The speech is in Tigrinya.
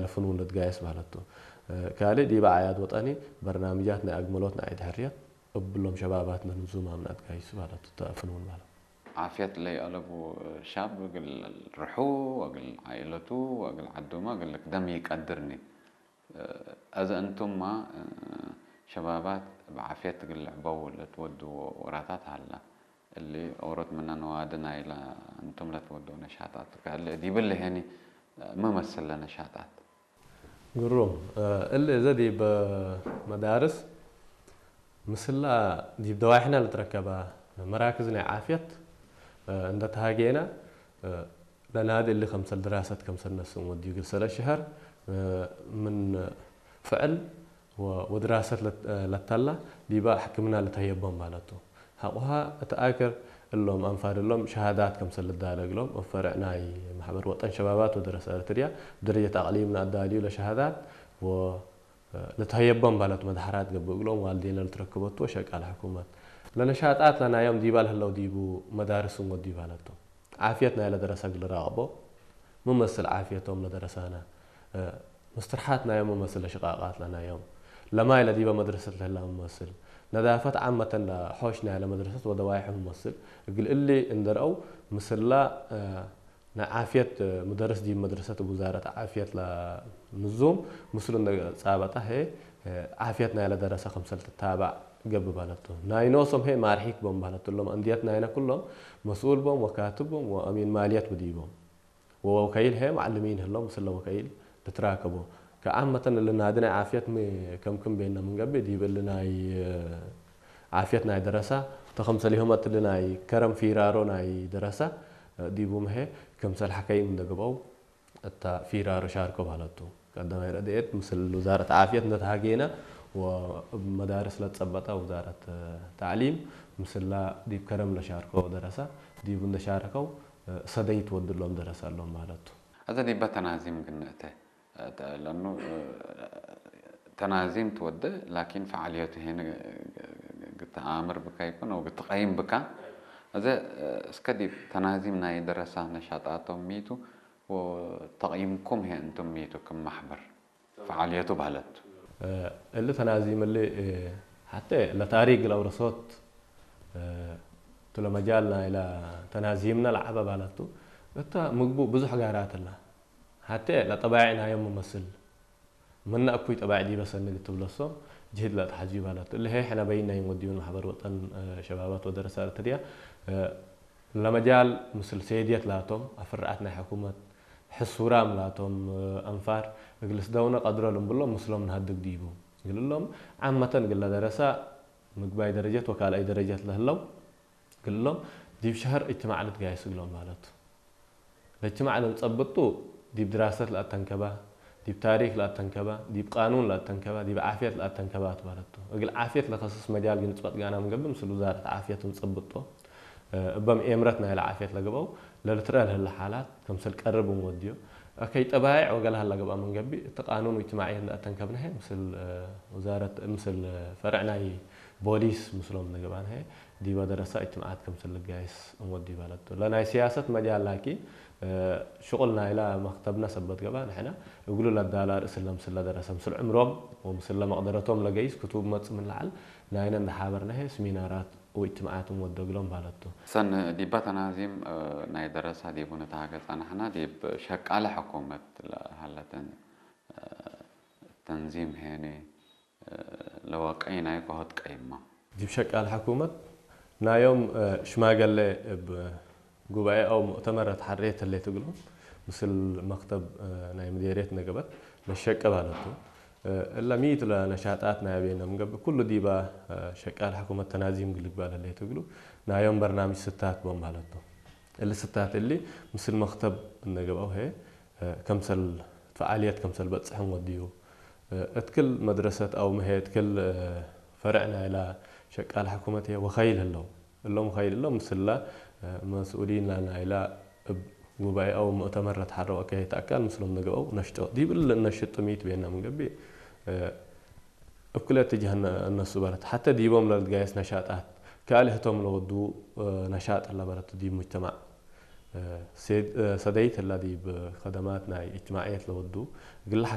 ለፍንውን ለትጋየስ ባለቱ። ካልእ ዲበ ዓያድ ወጠኒ በርናምጃት ናይ ኣግመሎት ንኣይ ድሕርየት እብሎም ሸባባት ለንዙም ኣምናት ጋይሱ ባለቱ ተፍንውን ባለቱ። ዓፍየት ለይኣለቡ ሻብ እግል ርሑ ወእግል ዓኢለቱ ወእግል ዓዶማ እግል ክደም ይቀድርኒ። እዘ እንቱማ ሸባባት ብዓፍየት እግል ልዕበው ለትወድዎ ወራታት ሀላ። እሊ ኦሮት ምነ ነዋዲ ናይለ እንቱም ለትወድዎ ነሻጣት ከእሊ ዲብል ሄኒ መመስል ለነሻጣት። ግሩም። እሊ እዘ ዲብ መዳርስ ምስላ ዲብ ደዋይሕና ልትረከባ መራክዝ ናይ ዓፍየት እንደ ተሃጌና ለናዲ እሊ ከምሰል ድራሰት ከምሰል ነስን ወዲዩ ግል ሰለ ሽሀር ምን ፍዕል ወድራሰት ለተላ ዲባ ሕክምና ልተህየቦም ማለቱ። ሐቁሃ እቲ ኣክር እሎም ኣንፋድ እሎም ሸሃዳት ከምሰል ልዳለግሎም ፈርዕ ናይ ማሕበር ወጠን ሸባባት ወደረሰ እርትርያ ብደረጀት ኣቕሊም ንኣዳልዩ ለሸሃዳት ወ ልትሀየቦም ባለቱ መድሓራት ገብእ እግሎም ዋልዴና ልትረክበቱ ወሸቃል ሕኩመት ለነሻጣት ለናዮም ዲባ ለህለው ዲቡ መዳርስ እንጎዲ ባለቱ ዓፍየት ናይ ለደረሰ ግልራቅቦ ምመስል ዓፍየቶም ለደረሳና ምስትርሓት ናዮም ምመስል ለሽቃቃት ለናዮም ለማይ ለዲበ መድረሰት ለህላ ምመስል ነዳፈት ዓመተን ለሖሽ ናይ ለመድረሰት ወደዋይሑ ምመስል እግል እሊ እንደርአው ምስላ ናይ ዓፍየት ምደርስ ዲብ መድረሰት ውዛረት ዓፍየት ለንዙም ምስሉ እንደ ጻበጣ ሄ ዓፍየት ናይ ለደረሰ ከምሰል ትታባዕ ገብእ ባለቱ ናይ ኖሶም ሄ ማርሒክ ቦም ባለቱ እሎም እንድየት ናይነ ኩሎም መስኡል ቦም ወካትብ ቦም ወአሚን ማልየት ብዲቦም ወወከይል ሄ ማዕልሚን ህሎም ምስለ ወከይል ልትራከቦ ከዓመተን እልናዲ ናይ ዓፍየት ከምክም ቤና ምንገብእ ዲብ እልናይ ዓፍየት ናይ ደረሳ ተኸምሰሊሆመት እልናይ ከረም ፊራሮ ናይ ደረሳ ዲቡ ምሄ ከምሰል ሓከይም እንደግበው እታ ፊራሮ ሻርኮ ባለቱ ቀዳማይ ረድኤት ምስል ውዛረት ዓፍየት እንደተሃገየና ወመዳርስ ለጸበጣ ውዛረት ታዕሊም ምስላ ዲብ ከረም ለሻርኮ ደረሳ ዲቡ እንደሻረከው ሰደይ ትወድሎም ደረሳ ኣሎም ማለቱ። እዘ ዲበ ተናዚም ግንእተ ለኑ ተናዚም ትወደ ላኪን ፈዓልየቱ ሄን ግትኣምር ብካ ይኩን ው ግትቀይም ብካ እዘ እስከ ዲብ ተናዚም ናይ ደረሳ ነሻጣቶም ሚቱ ተቕይምኩም ሄ እንቱም ሚቱ ክም ማሕበር ፈዓልየቱ ባህለት እሊ ተናዚም እሊ ሓተ ለታሪክ ለውረሶት ትሎ መጃል ናይላ ተናዚምና ለዓበ ባለቱ እታ ምግቡ ብዙሕ ጋራት ላ ሓተ ለጠባይዕ ናዮም መመስል ምነ እኩይ ጠባይዕ ዲበ ሰንግ ትብለሶም ጅህድ ለተሓዝዩ ባለቱ እሊ ሄ ሕነ በይናይ ወዲዩን ማሕበር ወጠን ሸባባት ወደረሳ እርትርያ ለመጃል ምስል ሴድየት ላቶም ኣፍርዓት ናይ ሕኩመት ሕሱራም ላቶም ኣንፋር እግልስ ደውነ ቀድረሉም ብሎም ምስሎም ንሃድግ ዲቡ ግልሎም ዓመተን ግለ ደረሳ ምግባይ ደረጀት ወካልኣይ ደረጀት ለህለው ግልሎም ዲብ ሸህር እጅትማዕ ልትጋየስ እግሎም ማለቱ ለእጅትማዕ ለልጸብጡ ዲብ ድራሰት ለኣተንከባ ዲብ ታሪክ ለኣተንከባ ዲብ ቃኑን ለኣተንከባ ዲብ ዓፍየት ለኣተንከባ ትባለቱ እግል ዓፍየት ለከስስ መጃል ግንጽበጥ ጋና ምንገብእ ምስል ውዛረት ዓፍየት እንጸብጦ እበም ኤምረት ናይለ ዓፍየት ለገብአው ለልትረአ ለህለ ሓላት ከምሰል ቀርብ እንወድዮ ከይ ጠባይዕ ወገለ ሀላ ገብኣ መንገቢ እቲ ቃኑን እጅትማዕየት እንዳእተንከብናሀ ምስል ውዛረት ምስል ፈርዕ ናይ ቦሊስ ምስሎም ንገብኣናሀ ዲበ ደረሳ እጅትማዓት ከምሰል ልጋይስ እንወዲ ባለቱ ለናይ ሲያሰት መጃል ላኪን ሽቁል ናይላ መክተብና ሰበት ገብኣ ንሕና እግሉ ለዳላ ርእስ ለምስል ለደረሰ ምስል ዕምሮም ወምስል ለመቅደረቶም ለገይስ ክቱብ መጽ ምን ለዓል ናይነ እንዳሓበርናሀ ስሚናራት ወእጅትማዓት እንወደግሎም ባለቱ። ሰን ዲባ ተናዚም ናይ ደረሳ ዲቡ ንተሃገ ጸናሕና ዲብ ሸቃለ ሕኩመት ለሃለተን ተንዚም ሄኒ ለወቀይ ናይ ኮሆት ቀይማ። ዲብ ሸቃለ ሕኩመት ናዮም ሽማገለ እብ ጉባኤ ኣው ሙእተመር ተሓሬት ህሌት እግሎም ምስል መክተብ ናይ ምዴርየት ነገበት ለሸቀ ባለቱ። እለ ሚት ለነሻጣት ናይ ኣቤነ ምንገብእ ኩሉ ዲባ ሸቃል ሕኩመት ተናዚም ግልግባል ህሌት እግሉ ናዮም በርናምጅ ስታት ቦም ባለቱ። እሊ ስታት እሊ ምስል መክተብ እነገብአው ሄ ከምሰል ፈዓልየት ከምሰል በጽሕን ወድዩ እትክል መድረሰት ኣው ምሄ እትክል ፈርዕ ናይላ ሸቃል ሕኩመት እየ ወኸይል ህለው እሎም ኸይል እሎም ምስላ መስኡሊን ናይላ እብ ጉባኤ ኣው ሙእተመር ለትሓረው ኣካየት ኣካል ምስሎም ንገብአው ነሽጦ ዲብል እነሽጥ ጥሚት ቤና ምንገቢ እብ ክልተ ጅሃ እነሱ በለት ሓተ ዲቦም ለልትጋየስ ነሻጣት ካልእ ህቶም ለወዱ ነሻጥ ለበለት ዲብ ሙጅተማዕ ሰደይት ላ ዲብ ከደማት ናይ እጅትማዕየት ለወዱ ግላሓከ